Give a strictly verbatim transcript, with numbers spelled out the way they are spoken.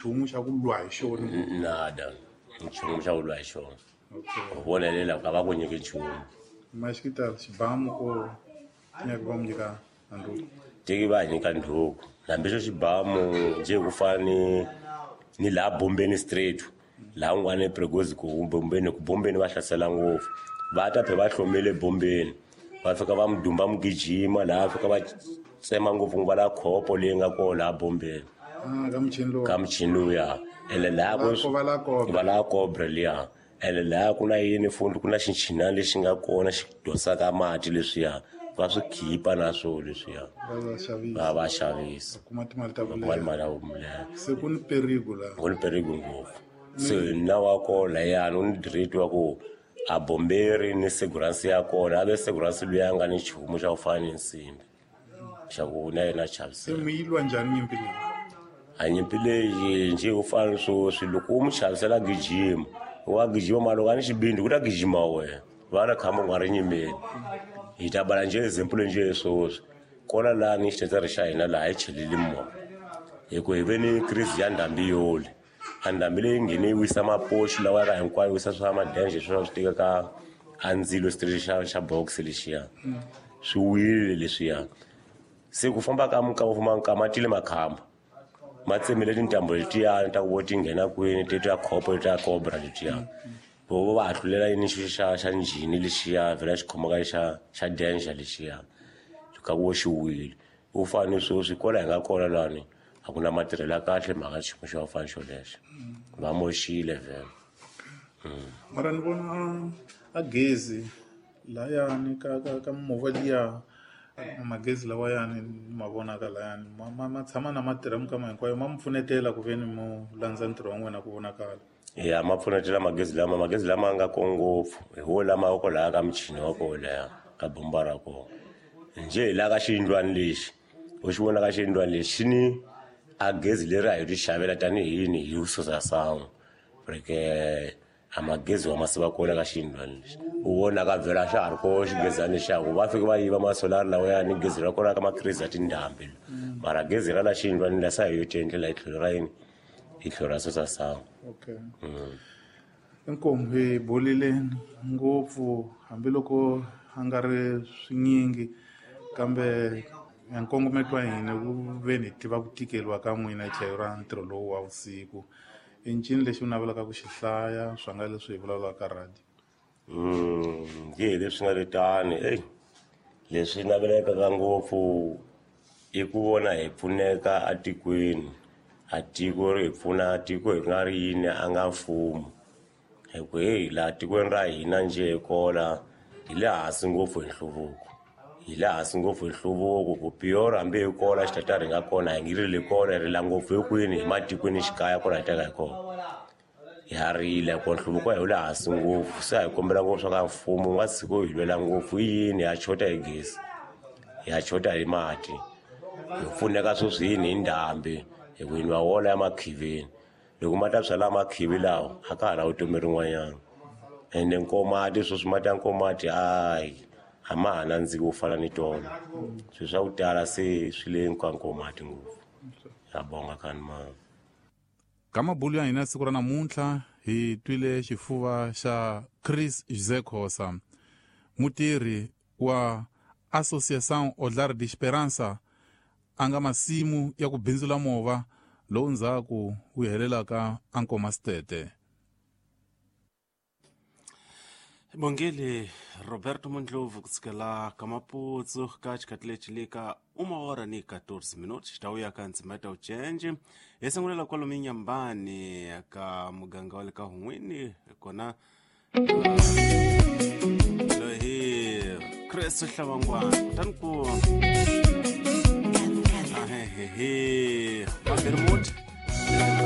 Nchumu xa ku lwa hi xona. Nada, nchumu xa ku lwa hi xona. Okay. U vonelela ku a va ku nyiki nchumu. Maxikita xibamu ko nyaka va mu nyika a ndhuku. Teki va nyika ndhuku. Hambi xo xibamu njhe ku fana ni ni laha Bombeni Street, laha un'wana ePregozi ku Bombeni ku Bombeni va hlasela ngopfu. Va ta phe va hlomile Bombeni. Va fika va mudumba mugijima laha fika va tsema ngopfu va la khopo leyi nga kona laha Bombeni. Ah, ka muchini lowu. Ka muchini lowuya. Ene laha ku Va la cobra. Va la cobra liya. Ene laha ku na yini fundi ku na xinchinana lexi nga kona xi dosaka mati leswiya. Va swi khipa na swona leswiya. Va va xavisa. Va va xavisa. Va kuma timali ta Va kuma vulema. timali ta vulema. Se ku ni perigo laha. Ku ni perigo ngopfu. Se na wa kona layani u ni direct wa ku a bomberi ni seguransi ya kona a ve seguransi luya a nga ni nchumu xa ku fana ni nsimbi xa ku na yena chavisela. Se mi yi lwa njhani nyimpi leyi? A nyimpi leyi njhe ku fana ni sweswi loko u mu chavisela gijima wa gijima mara loko a ni xibindi ku ta gijima wena va na khamba u nga ri nyimeni. Hi ta bala njhe example njhe sweswi kona laha ni xitetsere xa hina laha hi cheleli movha hi ku hi ve ni crise ya ndhambi yoli. A ndhambi leyi nghene yi wisa mapoxi lawa ya ka hinkwayo yi wisa swa madenje sweswi swi tekaka a ndzilo xitichi xa xa box lexiya swi wile leswiya. Se ku famba ka minkama famba nkama tile makhamba ma tsemile tintambu letiyani ta ku vo ti nghena kwini te ta khopo ta cobra letiya. Vo va hahlulela yini xi xa xa njhini lexiya vhela xi khomaka xa xa danger lexiya ka ku xi wile. U fane sweswi kwala hi nga kona lani a ku na matirhelo ya kahle mhaka xiyimo xa fana xolexo. Va moxile vhele. Mara ni vona a gezi layani ka ka ka mimovha liya magezi lawayani ni ma vonaka layani ma ma ma tshama na ma tirha minkama hinkwayo ma mi pfunetela ku ve ni mu landza ntirho wa n'wina ku vonakala. Ya ma pfunetela magezi lama magezi lama nga ko ngopfu hi wo lama wa kwalaya ka muchini wa kona laya ka bomba ra kona. Njhe hi la ka xiyindlwana lexi u xi vona ka xiyindlwana lexi xi ni a gezi leri a hi ri xavela tanihi yini hi susa sangu reke a magezi wa masiva kona ka xiyindlwana lexi u vonaka vhela xa ha ri ko xigezana lexiya ku va fika va yiva masolari lawayani gezi ra kona ka makhirisi ya tindhambi mara gezi ra la xiyindlwana la sa hi yo tiendlela hi tlhelo ra yini hi tlhelo ra susa sangu. Okay. Inkomu hi bolile ngopfu hambiloko a nga ri swinyingi kambe nkongometo wa hina ku ve ni tiva ku tikeriwa ka n'wina hi tlhelo ra ntirho lowu wa vusiku. I ncini lexi u navelaka ku xi hlaya swa nga leswi hi vulavulaka ka radio? Mm, hi leswi nga ri tani ey leswi navelekaka ngopfu i ku vona hi pfuneka atikweni. A tiko ri hi pfuna tiko hi nga ri yini a nga mfumo hi ku heyi laha tikweni ra hina njhe hi kola hi le hansi ngopfu hi nhluvuko. Hi le hansi ngopfu hi nhluvuko ku piyora hambi hi kola xitata ri nga kona hi ngi rili kona hi rila ngopfu hi kwini hi matikweni xikaya kona hi teka hi kona. Ha rila ku nhluvuko hi le hansi ngopfu se a hi kombela ngopfu swa ka mfumo wu nga tshiki wu hi lwela ngopfu i yini ha chota hi gezi ha chota hi mati hi pfuneka sweswi yini hi ndhambi hi ku hi nwa wona ya makhivini loko ma ta byala makhivi lawa a ka ha na vutomi rin'wanyana ende nkomati sweswi mati ya nkomati hayi a ma ha nandziki ku fana ni tolo swilo swa ku tala se swi le ka nkomati ngopfu. Ya bonga kani mani. Ka mabulu ya hina siku ra namuntlha hi twile xifuva xa Chris José Khosa mutirhi wa Associação Olhar de Esperança a nga masimu ya ku bindzula movha lowu ndzhaku wu helelaka a Nkomasitete. Bongele Roberto Mondlovu kusukela ka Maputsu ka xikhathi lexi le ka uma hora ni quatorze minutos xitawuya ka ndzima ta uchenje hi sungulela kwalomu Inhambane ka muganga wa le ka Hun'wini kona loyi Chris Hlavangwana kutani ku ahehehe Mabermut.